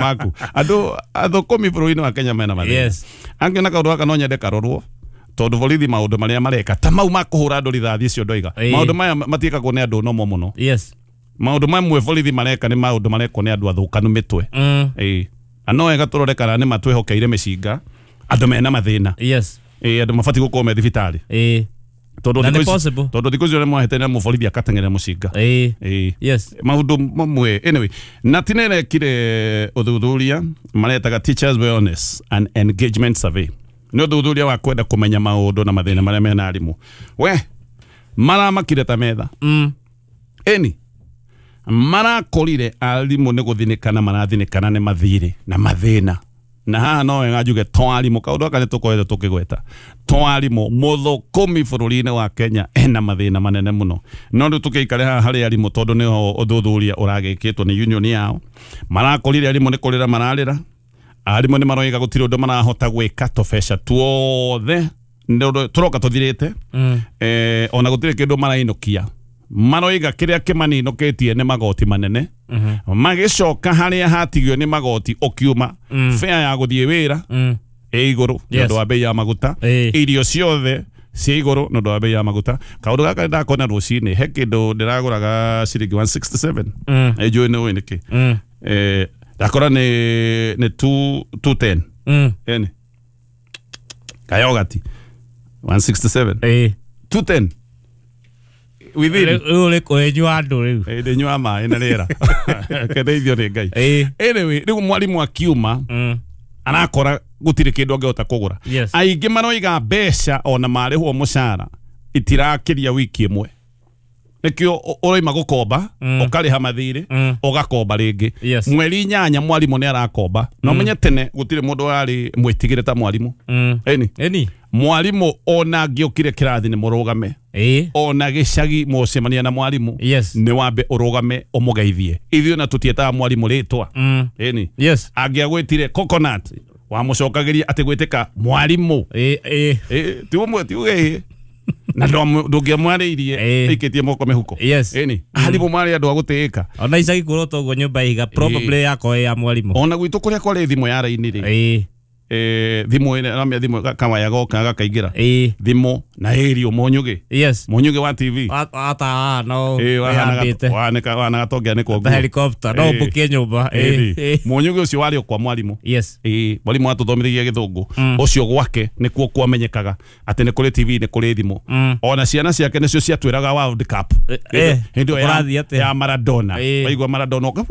Maku andũ athũkũmi bũrũri-inĩ wa Kenya mena mathĩna. Yes. Angĩ na kaũndũ gaka no nyende karorwo, tondũ borithi maũndũ marĩa mareka ta mau ma kũhũra andũ rithathi icio ndoiga, maũndũ maya matiĩkagwo nĩ andũ nomo mũno. Maũndũ mamwe borithi mareka nĩ maũndũ marekwo nĩ andũ athũkanu mĩtwe. Ĩĩ, na no wega tũrore kana nĩ matwĩhokeire mĩcinga andũ mena mathĩna. Ĩĩ, andũ mabatiĩ gũkorwo me thibitarĩ. Tondũ Na nĩ thikũ ici- possible. Tondũ thikũ icio nĩ mwahĩtania mũborithi agateng'eria mũcinga. Ĩĩ. Maũndũ mamwe, anyway, na tinerekire ũthuthuria maretaga Teachers Wellness and Engagement Survey. Nĩ ũthuthuria wa kwenda kũmenya maũndũ na mathĩna marĩa mena arimũ. We maramakire ta metha. Ĩni marakorire arimũ nĩ gũthinĩkana marathinĩkana nĩ mathirĩ na mathĩna, na haha no wega njuge to arimũ, kaũndũ gaka nĩ tũkoretwo tũkĩgweta, to arimũ, mũthũkũmi bũrũri-inĩ wa Kenya ena mathĩna manene mũno. No rĩu tũkĩikare haha harĩ arimũ, tondũ nĩho ũthuthuria ũragĩkĩtwo nĩ union yao. Marakorire arimũ nĩ kũrĩra mararĩra. Arimũ nĩ maroiga gũtirĩ ũndũ marahota gwĩka, tũbeca tuothe nĩ ũndũ tũroka tũthirĩte. Ona gũtirĩ kĩndũ marainũkia. Maroiga kĩrĩa kĩmaninũkĩtie nĩ magoti manene. Magĩcoka harĩa hatigio nĩ magoti ũkiuma, fare ya gũthiĩ wĩra ĩ igũrũ nĩ ũndũ wa bei ya maguta. Irio ciothe ciĩ igũrũ nĩ ũndũ wa bei ya maguta. Kaũndũ gaka ndakona rũcinĩ, he kĩndũ ndĩragũraga ciringi 167. Njũĩ nĩ ũĩ nĩkĩ. Ndakora nĩ 2 210. Eni kayogati 167, 210 within. Rĩu ũrĩ kũhenyua andũ rĩu. Ndĩnyua maĩ na rĩera kendeithio nĩ Ngai. Anyway, rĩu mwarimũ akiuma arakora gũtirĩ kĩndũ angĩhota kũgũra. Aingĩ maroiga mbeca ona marĩhwo mũcara itirakĩria wiki ĩmwe, nĩkĩo ũroima gũkomba, ũkarĩha mathirĩ, ũgakomba rĩngĩ. Mweri 8 mwarimũ nĩ arakomba. Na ũmenye tene gũtirĩ mũndũ warĩ mwĩtigĩre ta mwarimũ. Ĩni. Mwarimũ ona angĩũkire kĩrathi nĩ mũrũgame. Ona gĩcagi mũcemania na mwarimũ, nĩ wambe ũrũgame ũmũgeithie. Ithuĩ na tũtietaga mwarimũ rĩtwa. Ĩni. Angĩagwĩtire coconut, wamũcokagĩria atĩ gwĩtĩka mwarimũ. Ĩĩ. Ĩ, ti ũmwe ti uge ĩ na ndũngĩamwarĩirie aikĩtie moko mĩhuko. Ĩni, arimũ marĩ andũ a gũtĩĩka. Ona icagi kũrota ũguo nyũmba ihiga probably yakorwo ĩ ya mwarimũ. Ona gwitũ kũrĩa kwarĩ thimũ ya raini rĩ, thimũ ĩrĩa ramia thimũ kawaya goka gakaingĩra thimũ na ĩrio mũnyugĩ, mũnyugĩ wa TV. Ata no Ĩ, ĩhambĩte wahanaga tongĩanĩkwo ta nguo. helicopter no ũmbũkie nyũmba. Ĩni. Mũnyugĩ ũcio warĩ o kwa mwarimũ. Ĩĩ, mwarimũ atũthomithagia gĩthũngũ ũcio, gwake nĩkuo kwamenyekaga atĩ nĩ kũrĩ TV, nĩ kũrĩ thimũ. Ona ciana ciake nĩcio ciatwĩraga World Cup hĩndĩ ĩyo Kũrathiĩ atĩa? ya Maradona. Waigua Maradona ũka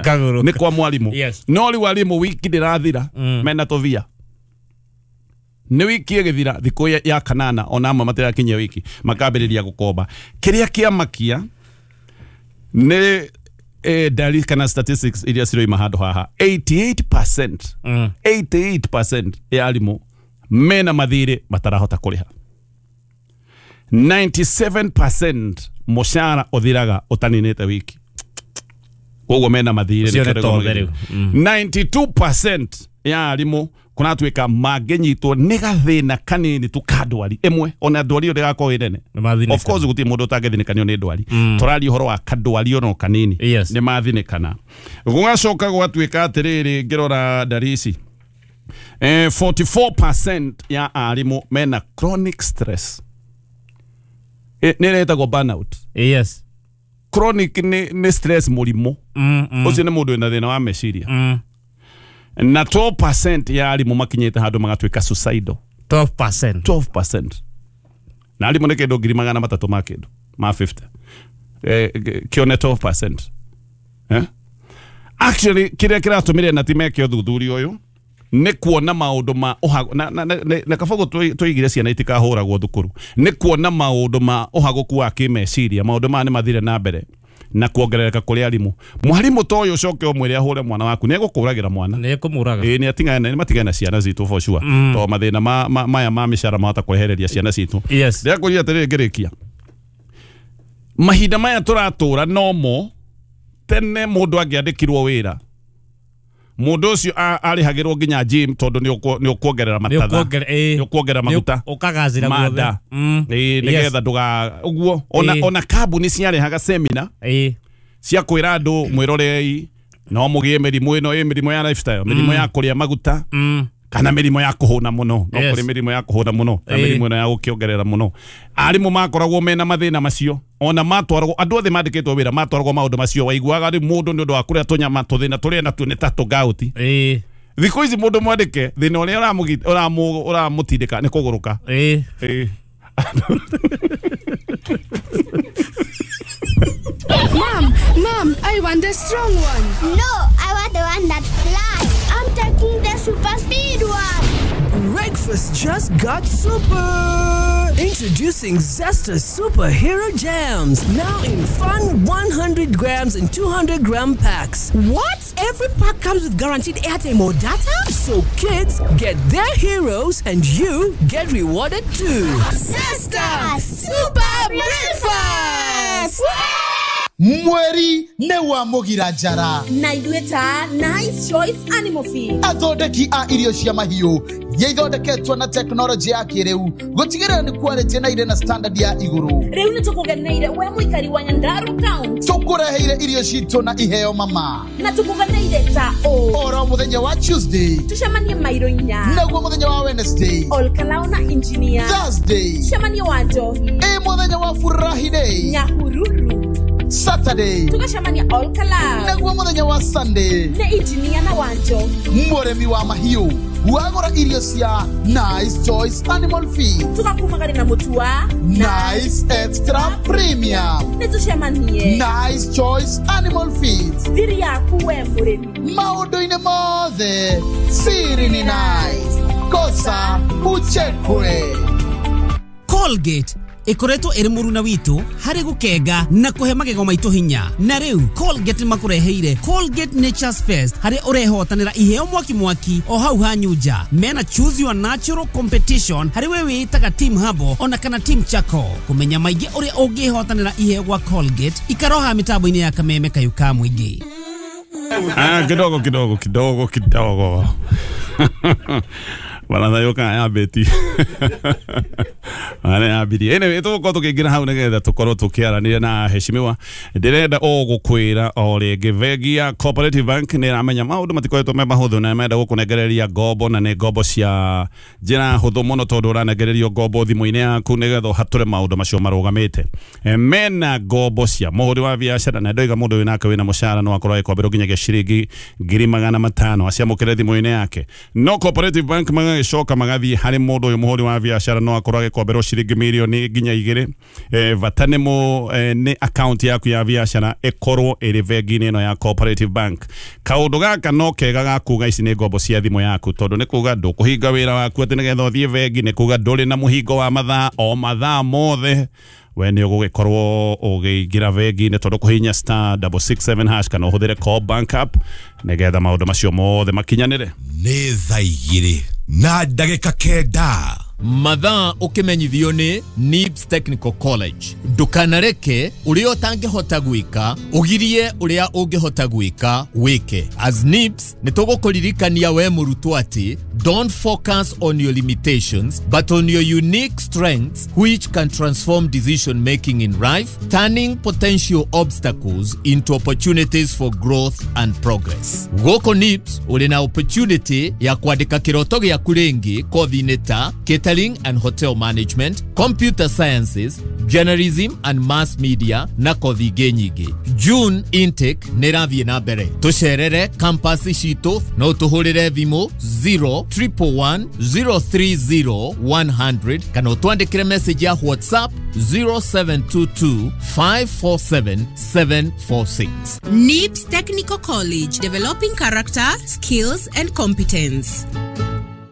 Kagũrũ. Nĩ kwa mwarimũ. No rĩu arimũ wiki ndĩrathira mena tũvia. Nĩ wiki ĩgĩthira thikũ ya kanana, ona amwe matirakinyia wiki makambĩrĩria gũkomba. Kĩrĩa kĩamakia nĩ ndari kana statistics iria ciroima handũ haha, 88%, 88% ya arimũ mena mathirĩ matarahota kũrĩha. 97% mũcara ũthiraga ũtaninĩte wiki, koguo mena mathirĩ. Ũcio nĩ nĩkĩo tothe rĩu rĩu. 92% ya arimũ kũratuĩka mangĩnyitwo nĩ gathĩna kanini tu ka ndwari ĩmwe, ona ndwari ĩyo ndĩgakorwo ĩ nene. Nĩ Of course gũtirĩ mũndũ ũtangĩthinĩkanio nĩ ndwari. Tũraria ũhoro wa kandwari ono kanini. Nĩ mathinĩkana. Gũgacoka gwatuĩka atĩrĩrĩ, ngĩrora ndari ici, 44% ya arimũ mena chronic stress. Nĩ ĩretagwo burnout. Chronic nĩ stress, mũrimũ ũcio nĩ mũndũ wĩna thĩna wa meciria. Na 12% ya arimũ makinyĩte handũ magatuĩka suicidal. 12%. 12%, na arimũ nĩ kĩndũ 300,000 ma kĩndũ ma 50, kĩone 12%, eh? Actually kĩrĩa kĩratũmire na ti meke ũthuthuria ũyũ nĩ kuona maũndũ ma ũhago na kabogo tũigire ciana itikahũragwo thukuru, nĩ kuona maũndũ ma ũhagũku wa kĩmeciria, maũndũ maya nĩ mathire na mbere na kuongerereka kũrĩ arimũ. Mwarimũ ta ũyũ ũcoke ũmwĩre ahũre mwana waku, nĩ egũkũragĩra mwana. Nĩ ekũmũraga. Ĩĩ, nĩ atigane, nĩ matigane na ciana citũ for sure, to mathĩna maya ma mĩcara mahota kwehereria ciana citũ. Ndĩrakũria atĩrĩrĩ ngĩrĩkia, mahinda maya tũratũra nomo tene mũndũ angĩandĩkirwo wĩra, mũndũ ũcio arĩhagĩrwo nginya gym, tondũ nĩ ũkuongerera Nĩ matatha, ũkuongerera, ĩĩ. nĩ ũkuongerera maguta. Ũkagacĩra guothe. Manda. Ĩĩ, nĩgetha ndũga ũguo ona ona kambuni ciarĩhaga semina cia kwĩra andũ mwĩrorei No mũgĩe mĩrimũ ĩno ĩ mĩrimũ ya lifestyle, mĩrimũ ya kũrĩa maguta, kana mĩrimũ ya kũhũna mũno. No kũrĩ mĩrimũ ya kũhũna mũno na mĩrimũ ĩno ya gũkĩongerera mũno. Arimũ makoragwo mena mathĩna macio, ona matwaragwo andũ othe mandĩkĩtwo wĩra matwaragwo maũndũ macio. Waiguaga rĩu mũndũ nĩ ũndũ wa kũrĩa tũnyama tũthĩna tũrĩa natuo nĩ ta tũgauti. Thikũ ici mũndũ mwandĩke thĩna ũrĩa ũramũtindĩka nĩ kũgũrũka. Mom, Mom, I want the strong one. No, I want the one that flies. I'm taking the super speed one. Breakfast just got super. Introducing Zesta Superhero Jams, now in fun 100 grams and 200 gram packs. What? Every pack comes with guaranteed airtime or data? So kids get their heroes and you get rewarded too. Zesta Super Breakfast! Mweri nĩ wa mũgira njara na ithuĩ ta Nice Choice Animal Feed, athondeki a irio cia mahiũ iria ithondeketwo na tekinoronjĩ ya kĩrĩu gũtigĩrĩra nĩ quality na irĩ na standard ya igũrũ. Rĩu nĩ tũkũgeneire we mũikari wa Nyandarua County, tũkũreheire irio citũ na iheo mama, na tũkũgeneire ta ũ oro mũthenya wa Tuesday tũcemanie mairo inya, naguo mũthenya wa Wednesday Olkalao na Engineer, Thursday tũcemanie wa Njohi, ĩ mũthenya wa Friday Nyahururu, Saturday tugacemania Olkalao, naguo mũthenya wa Sunday nĩ Engineer na Wanjohi. Mũrĩmi wa mahiũ wagũra irio cia Nice Choice Animal Feed tugakumagari na mũtu wa Nice Extra Premium. Nĩ tũcemanie Nice Choice Animal Feed, thiri yaku we mũrĩmi maũndũ-inĩ mothe siri ni nice, kosa uchekwe. Colgate ikoretwo ĩrĩ mũruna witũ harĩ gũkenga na kũhe magego maitũ hinya. Na rĩu Colgate makũreheire Colgate Nature's Fest, harĩa ũrehotanĩra iheo mwaki mwaki o hau hanyunja. Mena choose your natural competition harĩ we wĩtaga team Habo ona kana team Chako. Kũmenya maingĩ ũrĩa ũngĩhotanĩra iheo gwa Colgate, ikaroha mĩtambo-inĩ ya kameme kayu ka mũingĩ. Kidogo kidogo kidogo kidogo. Baratha yoka ya beti. Ana abiria. Anyway, tũgũkorwo tũkĩingĩra hau nĩgetha tũkorwo tũkĩaranĩria na heshimiwa. Ndĩrenda o gũkwĩra o rĩngĩ bengi ya Cooperative Bank nĩ ĩramenya maũndũ matikoretwo me mahũthũ na menda gũkũnengereria ngombo, na nĩ ngombo cia njĩra hũthũ mũno tondũ ũranengererio ngombo thimũ-inĩ yaku nĩgetha ũhatũre maũndũ macio marũgamĩte. Mena ngombo cia mũhũri wa biacara, na ndoiga mũndũ wĩnake wĩna mũcara no akorwo agĩkomberwo nginyagia ciringi 500,000 aciamũkĩre thimũ-inĩ yake. No Cooperative Bank magagĩcoka magathiĩ harĩ mũndũ ũyũ mũhũri wa biacara no akorwo agĩkomberwo ciringi milioni nginya 2. Bata nĩ nĩ account yaku ya biacara ĩkorwo ĩrĩ bengi-inĩ ĩno ya Cooperative Bank. Kaũndũ gaka no kega ga kuga ici nĩ ngombo cia thimũ yaku, tondũ nĩ kuga ndũkũhinga wĩra waku atĩ nĩgetha ũthiĩ bengi, nĩ kuga ndũrĩ na mũhingo wa mathaa o mathaa mothe we nĩ ũgũgĩkorwo ũgĩingĩra bengi-inĩ tondũ kũhihinya *667# kana ũhũthĩre Co-op Bank app nĩgetha maũndũ macio mothe makinyanĩre. Nĩ thaa 2:09 Mathaa ũkĩmenyithio nĩ NIBS Technical College. Ndũkanareke ũrĩa ũtangĩhota gwĩka ũgirie ũrĩa ũngĩhota gwĩka wĩke. As NIBS nĩ tũgũkũririkania we mũrutwo atĩ don't focus on your limitations but on your unique strengths which can transform decision making in life, turning potential obstacles into opportunities for growth and progress. Gũkũ NIBS ũrĩ na opportunity ya kwandĩka kĩroto gĩaku rĩngĩ kothi-inĩ ta catering and hotel management, computer sciences, journalism and mass media na kothi ingĩ nyingĩ. June intake nĩ ĩrathiĩ na mbere. Tũcerere campus citũ no tũhũrĩre thimũ 0 111 030 100 kana ũtwandĩkĩre message ya WhatsApp 0722 547 746. NIBS Technical College, developing character, skills and competence.